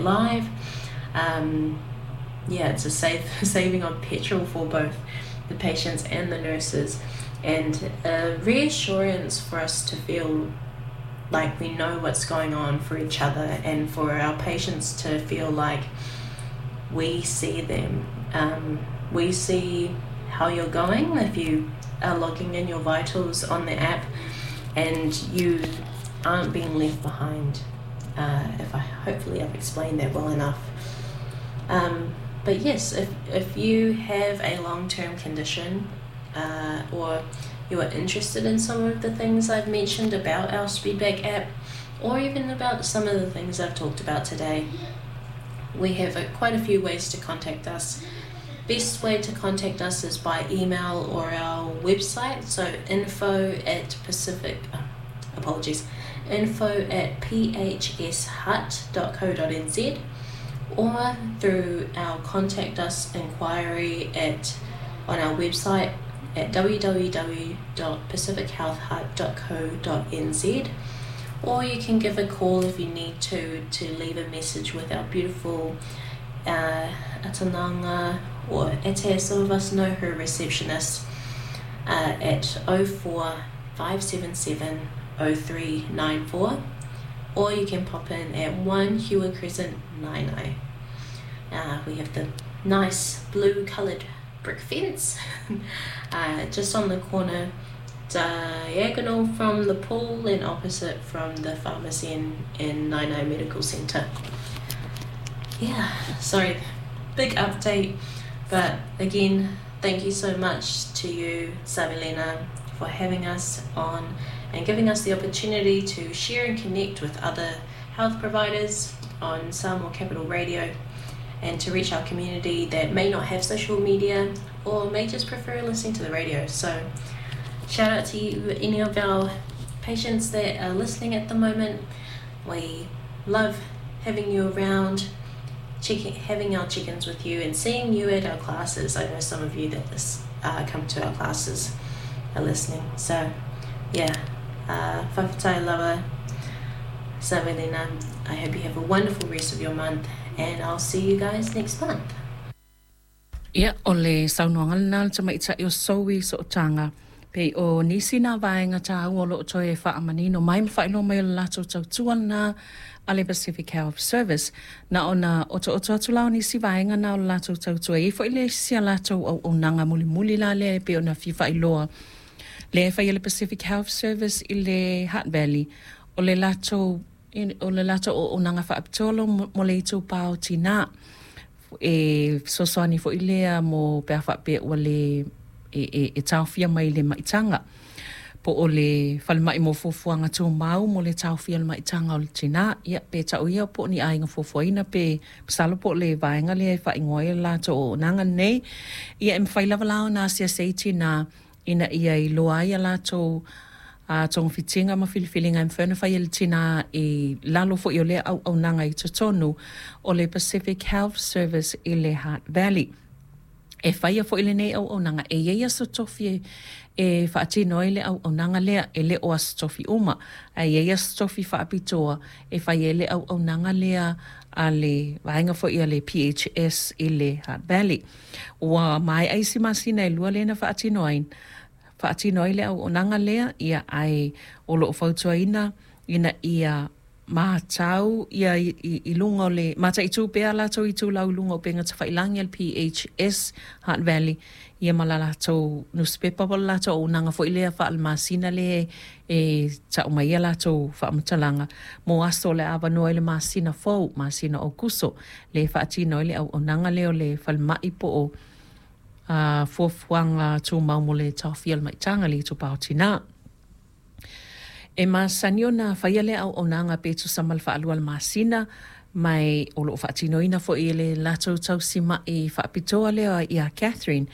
live. Yeah, it's a safe saving on petrol for both the patients and the nurses, and a reassurance for us to feel like we know what's going on for each other, and for our patients to feel like we see them. We see how you're going if you are logging in your vitals on the app, and you aren't being left behind. If I hopefully I've explained that well enough. But yes, if you have a long-term condition, or you are interested in some of the things I've mentioned about our SpeedBack app, or even about some of the things I've talked about today, we have quite a few ways to contact us. Best way to contact us is by email or our website, so info at Pacific, apologies, info@phshutt.co.nz, or through our contact us inquiry on our website at www.pacifichealthhutt.co.nz, or you can give a call if you need to leave a message with our beautiful Atananga or Ete, some of us know her receptionist, at 04 577 0394, or you can pop in at 1 Hewer Crescent, Naenae. We have the nice blue coloured brick fence just on the corner, diagonal from the pool and opposite from the pharmacy in Naenae Medical Centre. Yeah, sorry, big update, but again, thank you so much to you, Savelina, for having us on and giving us the opportunity to share and connect with other health providers on Samoa Capital Radio, and to reach our community that may not have social media or may just prefer listening to the radio. So shout out to you, any of our patients that are listening at the moment. We love having you around, having our check-ins with you and seeing you at our classes. I know some of you that come to our classes are listening. So yeah, Fa'afetai lava, Savelina. I hope you have a wonderful rest of your month, and I'll see you guys next month. Ia, o le saunoaga lena a le tamaitai o Zoe Sootaga, pei o nisi nā vaega tāua o lo o toe faamanino mai ma faailoa mai o le latou tautua lena a le Pacific Health Service. Na ona otooto atu la o nisi vaega na o le latou tautua. E i ai foi le isi a latou auaunaga mulimuli la lea e pei ona fia faailoa lea e fai e le Pacific Health Service i le Hutt Valley, o le latou o le latou auaunaga faapitoa mo le itupa o tinā. E fesoasoani foi lea mo pe a faapea ua le e taofia mai le maitaga po o le falemai mo fuafuaga tumau mo le taofia o le maitaga o le tinā. Ia, pe tau ia po o ni aiga fuafuaina pe masalo po o le vaega lea e faaigoa ai le latou auaunaga lenei. Ia, e mafai lava la ona asiasi ai tinā ina ia iloa ai a latou togafitiga ma filifiliga e mafai ona fai e le tinā i lalo foi o lea auaunaga i totonu o le Pacific Health Service i le Hutt Valley. E faia foi lenei auaunaga, e i ai aso tofi e faatino ai le auaunaga lea, e le o aso tofi uma, ae i ai aso tofi faapitoa e fai ai le auaunaga lea a le vaega foi a le PHS i le Hutt Valley. Ua maea isi masina e lua lea na faatino ai, faatino ai le auaunaga lea, ia ae o lo o fautuaina ina ia matau ia i luga o le mataitu pea latou itulau i luga o upega tafailagi a le PHS Hutt Valley ia ma la latou nusipepa po o le latou auaunaga foi lea faale-masina lea e tau mai ai a latou faamatalaga mo aso o le a avanoa ai le masina fou, masina o Aokuso, lea e faatino ai le auaunaga lea o le falemai po o fuafuaga tumau mo le taofia o le maitaga le itupa o tinā. E masani ona faia lea auaunaga pe tusa ma le faalua o le masina, ma o lo o faatinoina foi e le latou tausimaʻi faapitoa lea iā Catherine.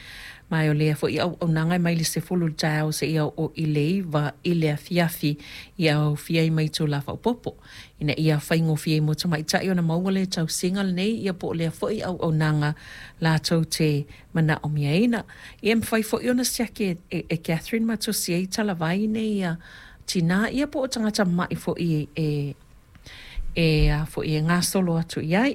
Ma o lea foi auaunaga e mai le 10 i le taeao seia oo i le 9 i le afiafi ia aofia ai ma itulā faaopoopo ina ia faigofie ai mo tamaitai ona maua le tausiga lenei ia po o lea foi auaunaga latou te manaomiaina. Ia e mafai foi ona siaki e Catherine ma tusi ai talavai nei ia tinā ia po o tagata maʻi foi e a foi e gasolo atu i ai.